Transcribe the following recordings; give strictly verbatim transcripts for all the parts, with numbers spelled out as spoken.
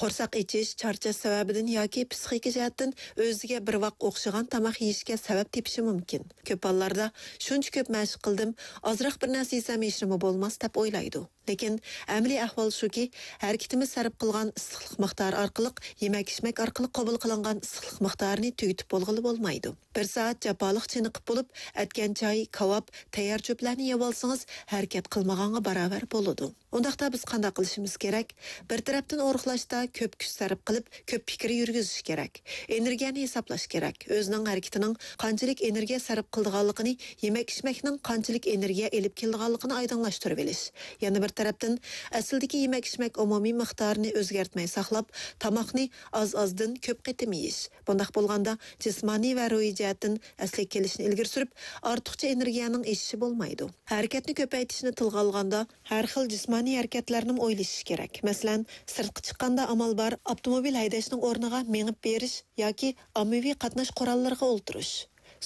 قورساق ئېچىش، چارچاش سەۋەبىدىن ياكى پسىخىكا جەھەتتىن ئۆزىگە بىر ۋاق ئوخشىغان تاماق يېيىشكە سەۋەب تېپىشى مۇمكىن. كۆپ ھاللاردا شۇنچە كۆپ مەشىق قىلدىم، ئازراق بىر نەرسە يېسەم ھېچنېمە بولماس دەپ ئويلايدۇ. لېكىن ئەمەلىي ئەھۋال شۇكى، ھەرىكىتىمىز سەرپ قىلغان ئىسسىقلىق مىقدارى ئارقىلىق يېمەك-ئىچمەك ئارقىلىق قوبۇل قىلىنغان ئىسسىقلىق مىقدارىنى تۈگىتىپ بولغىلى بولمايدۇ. بىر سائەت جاپالىق چېنىقىپ بولۇپ، ئەتكەن چاي، كاۋاپ، تەييار چۆپلەرنى يەۋالسىڭىز، ھەرىكەت قىلمىغانغا باراۋەر بولىدۇ. ئۇنداقتا بىز قانداق قىلىشىمىز كېرەك؟ بىر تەرەپتىن ئورۇقلاشتا كۆپ كۈچ سەرپ قىلىپ، كۆپ پىكىر يۈرگۈزۈش كېرەك. ئېنېرگىيەنى ھېسابلاش كېرەك. ئۆزىنىڭ ھەرىكىتىنىڭ قانچىلىك ئېنېرگىيە سەرپ قىلىدىغانلىقىنى، يېمەك-ئىچمەكنىڭ قانچىلىك ئېنېرگىيە ئېلىپ كېلىدىغانلىقىنى ئايدىڭلاشتۇرۇۋېلىش. يەنە بىر تەرەپتىن، ئەسلىدىكى يېمەك-ئىچمەك ئومۇمىي مىقدارىنى ئۆزگەرتمەي ساقلاپ، تاماقنى ئاز-ئازدىن كۆپ قېتىم يېيىش. بۇنداق بولغاندا، جىسمانىي ۋە روھىي جەھەتتىن ئەسلىگە كېلىشنى ئىلگىرى سۈرۈپ، ئارتۇقچە ئېنېرگىيەنىڭ ئېشىشى بولمايدۇ. ھەرىكەتنى كۆپەيتىشنى تىلغا ئالغاندا، ھەر خىل جىسمانىي ھەرىكەتلەرنىمۇ ئويلىشىش كېرەك. مەسىلەن، سىرتقا چىققاندا ئامال بار، ئاپتوموبىل ھەيدەشنىڭ ئورنىغا مېڭىپ بېرىش ياكى ئاممىۋى قاتناش قوراللىرىغا ئولتۇرۇش.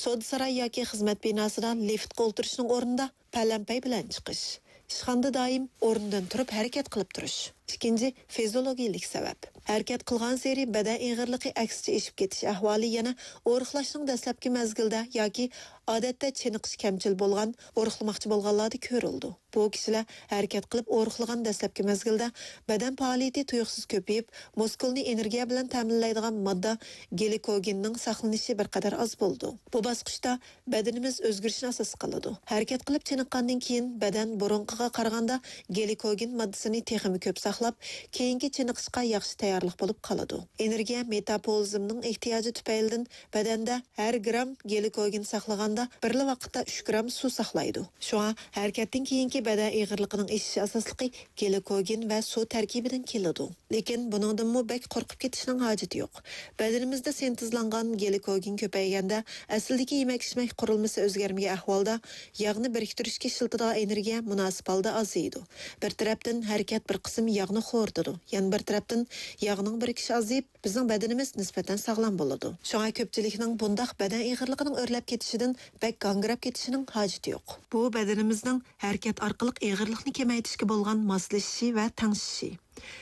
سودا ساراي ياكى خىزمەت بىناسىدا لىفتقا ئولتۇرۇشنىڭ ئورنىدا پەلەمپەي بىلەن چىقىش. ئىشخانىدا دائىم ئورنىدىن تۇرۇپ ھەرىكەت قىلىپ تۇرۇش. ئىككىنچى، فىزىيولوگىيىلىك سەۋەب. ھەرىكەت قىلغانسېرى بەدەن ئېغىرلىقى ئەكسىچە ئېشىپ كېتىش ئەھۋالى يەنە ئورۇقلاشنىڭ دەسلەپكى مەزگىلىدە ياكى ئادەتتە چېنىقىش كەمچىل بولغان، ئورۇقلىماقچى بولغانلاردا كۆرۈلىدۇ. بۇ كىشىلەر ھەرىكەت قىلىپ ئورۇقلىغان دەسلەپكى مەزگىلدە بەدەن پائالىيىتى تۇيۇقسىز كۆپىيىپ، مۇسكۇلنى ئېنېرگىيە بىلەن تەمىنلەيدىغان ماددا گلىكوگېننىڭ ساقلىنىشى بىر قەدەر ئاز بولىدۇ. بۇ باسقۇچتا بەدىنىمىز ئۆزگىرىشنى ئاساس قىلىدۇ. ھەرىكەت قىلىپ چېنىققاندىن كېيىن بەدەن بۇرۇنقىغا قارىغاندا گلىكوگېن ماددىسىنى تېخىمۇ كۆپ ساقلاپ، كېيىنكى چېنىقىشقا ياخشى تەييارلىق بولۇپ قالىدۇ. ئېنېرگىيە مېتابولىزمنىڭ ئېھتىياجى تۈپەيلىدىن بەدەندە ھەر گرام گلىكوگېن ساقلىغاندا بىرلا ۋاقىتتا ئۈچ گرام سۇ ساقلايدۇ. شۇڭا ھەرىكەتتىن كېيىنكى بەدەن ئېغىرلىقىنىڭ ئېشىش ئاساسلىقى گلىكوگېن ۋە سۇ تەركىبىدىن كېلىدۇ. لېكىن بۇنىڭدىنمۇ بەك قورقۇپ كېتىشنىڭ ھاجىتى يوق. بەدىنىمىزدە سىنتېزلانغان گلىكوگېن كۆپەيگەندە، ئەسلىدىكى يېمەك-ئىچمەك قۇرۇلمىسى ئۆزگەرمىگەن ئەھۋالدا، ياغنى بىرىكتۈرۈشكە ئىشلىتىدىغان ئېنېرگىيە مۇناسىپ ھالدا ئازىيىدۇ. بىر تەرەپتىن ھەرىكەت بىر قىسىم ياغنى خورىتىدۇ، يەنە بىر تەرەپتىن ياغنىڭ بىرىكىشى ئازىيىپ، بىزنىڭ بەدىنىمىز نىسبەتەن ساغلام بولىدۇ. شۇڭا كۆپچىلىكنىڭ بۇنداق بەدەن ئېغىرلىقىنىڭ ئۆرلەپ كېتىشىدىن بەك گاڭگىراپ كېتىشىنىڭ ھاجىتى يوق. بۇ بەدىنىمىزنىڭ ھەرىكەت ئارقىلىق ئېغىرلىقنى كېمەيتىشكە بولغان ماسلىشىشى ۋە تەڭشىشى.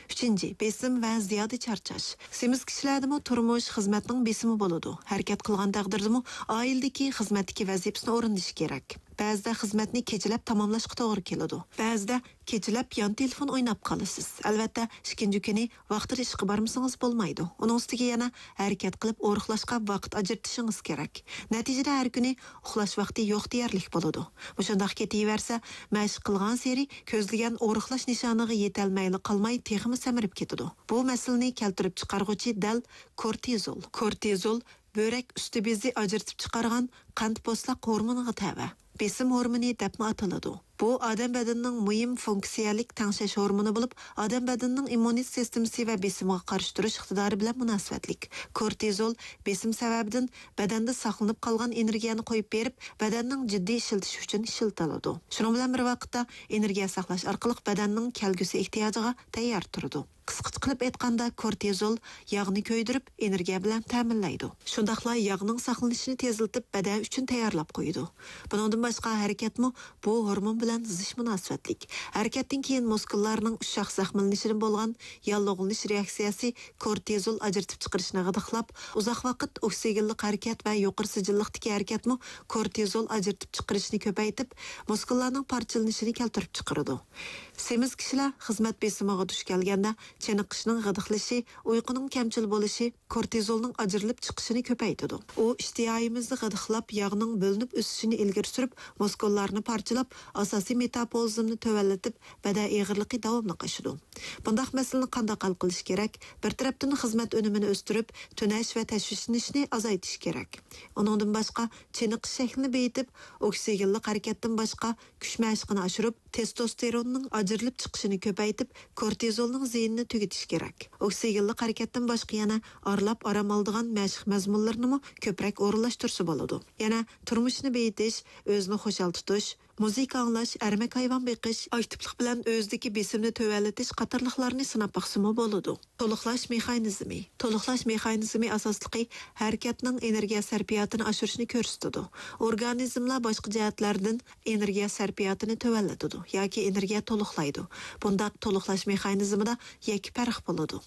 ئۈچىنچى، بېسىم ۋە زىيادە چارچاش. سېمىز كىشىلەردىمۇ تۇرمۇش، خىزمەتنىڭ بېسىمى بولىدۇ. ھەرىكەت قىلغان تەقدىردىمۇ ئائىلىدىكى، خىزمەتتىكى ۋەزىپىسىنى ئورۇندىشى كېرەك. بەزىدە خىزمەتنى كېچىلەپ تاماملاشقا توغرا كېلىدۇ. بەزىدە كېچىلەپ يان تېلېفون ئويناپ قالىسىز. ئەلۋەتتە، ئىككىنچى كۈنى ۋاقتىدا ئىشقا بارمىسىڭىز بولمايدۇ. ئۇنىڭ ئۈستىگە يەنە ھەرىكەت قىلىپ ئورۇقلاشقا ۋاقىت ئاجرىتىشىڭىز كېرەك. نەتىجىدە ھەر كۈنى ئۇخلاش ۋاقتى يوق دېيەرلىك بولىدۇ. مۇشۇنداق كېتىۋەرسە، مەشىق قىلغانسېرى كۆزلىگەن ئورۇقلاش نىشانىغا يېتەلمەيلا قالماي، تېخىمۇ سەمرىپ كېتىدۇ. بۇ مەسىلىنى كەلتۈرۈپ چىقارغۇچى دەل كورتىزول. كورتىزول بۆرەك ئۈستى بېزى ئاجرىتىپ چىقارغان قەنت پوستاق ھورمونىغا تەۋە. بېسىم ھورمونى دەپمۇ ئاتىلىدۇ. بۇ ئادەم بەدىنىنىڭ مۇھىم فۇنكسىيەلىك تەڭشەش ھورمونى بولۇپ، ئادەم بەدىنىنىڭ ئىممۇنىتېت سىستېمىسى ۋە بېسىمىغا قارشى تۇرۇش ئىقتىدارى بىلەن مۇناسىۋەتلىك. كورتىزول بېسىم سەۋەبىدىن بەدەندە ساقلىنىپ قالغان ئېنېرگىيەنى قويۇپ بېرىپ، بەدەننىڭ جىددىي ئىشلىتىشى ئۈچۈن ئىشلىتىلىدۇ. شۇنىڭ بىلەن بىر ۋاقىتتا، ئېنېرگىيە ساقلاش ئارقىلىق بەدەننىڭ كەلگۈسى ئېھتىياجىغا تەييار تۇرىدۇ. قىسقىچە قىلىپ ئېيتقاندا، كورتىزول ياغنى كۆيدۈرۈپ، ئېنېرگىيە بىلەن تەمىنلەيدۇ. شۇنداقلا ياغنىڭ ساقلىنىشىنى تېزلىتىپ، بەدەن ئۈچۈن تەييارلاپ قويىدۇ. بۇنىڭدىن باشقا، ھەرىكەتمۇ بۇ ھورمون بىلەن زىچ مۇناسىۋەتلىك. ھەرىكەتتىن كېيىن مۇسكۇللارنىڭ ئۇششاق زەخىملىنىشىدىن بولغان ياللۇغلىنىش رېئاكسىيەسى كورتىزول ئاجرىتىپ چىقىرىشنى غىدىقلاپ، ئۇزاق ۋاقىت ئوكسىگېنلىق ھەرىكەت ۋە يۇقىرى سىجىللىقتىكى ھەرىكەتمۇ كورتىزول ئاجرىتىپ چىقىرىشنى كۆپەيتىپ، مۇسكۇللارنىڭ پارچىلىنىشىنى كەلتۈرۈپ چىقىرىدۇ. سېمىز كىشىلەر خىزمەت بېسىمىغا دۇچ كەلگەندە، چېنىقىشنىڭ غىدىقلىشى، ئۇيقۇنىڭ كەمچىل بولۇشى كورتىزولنىڭ ئاجرىلىپ چىقىشىنى كۆپەيتىدۇ. ئۇ ئىشتىھايىمىزنى غىدىقلاپ، ياغنىڭ بۆلۈنۈپ ئۆسۈشىنى ئىلگىرى سۈرۈپ، مۇسكۇللارنى پارچىلاپ، ئاساسىي مېتابولىزمنى تۆۋەنلىتىپ، بەدەن ئېغىرلىقى داۋاملىق ئاشىدۇ. بۇنداق مەسىلىنى قانداق ھەل قىلىش كېرەك؟ بىر تەرەپتىن خىزمەت ئۈنۈمىنى ئۆستۈرۈپ، تۈنەش ۋە تەشۋىشلىنىشنى ئازايتىش كېرەك. ئۇنىڭدىن باشقا، چېنىقىش شەكلىنى بېيىتىپ، ئوكسىگېنلىق ھەرىكەتتىن باشقا، كۈچ مەشىقىنى ئاشۇرۇپ، تېستوستېروننىڭ ئاجرىلىپ چىقىشىنى كۆپەيتىپ، كورتىزولنىڭ زىيىنىنى تۈگىتىش كېرەك. ئوكسىگېنلىق ھەرىكەتتىن باشقا يەنە ئارىلاپ ئارام ئالىدىغان مەشىق مەزمۇنلىرىنىمۇ كۆپرەك ئورۇنلاشتۇرسا بولىدۇ. يەنە تۇرمۇشنى بېيىتىش، ئۆزىنى خۇشال تۇتۇش، مۇزىكا ئاڭلاش، ئەرمەك ھايۋان بېقىش، ئاكتىپلىق بىلەن ئۆزىدىكى بېسىمنى تۆۋەنلىتىش قاتارلىقلارنى سىناپ باقسىمۇ بولىدۇ. تولۇقلاش مېخانىزمى. تولۇقلاش مېخانىزمى ئاساسلىقى ھەرىكەتنىڭ ئېنېرگىيە سەرپىياتىنى ئاشۇرۇشنى كۆرسىتىدۇ. ئورگانىزملار باشقا جەھەتلەردىن ئېنېرگىيە سەرپىياتىنى تۆۋەنلىتىدۇ ياكى ئېنېرگىيە تولۇقلايدۇ. بۇنداق تولۇقلاش مېخانىزمىدا يەككە پەرق بولىدۇ.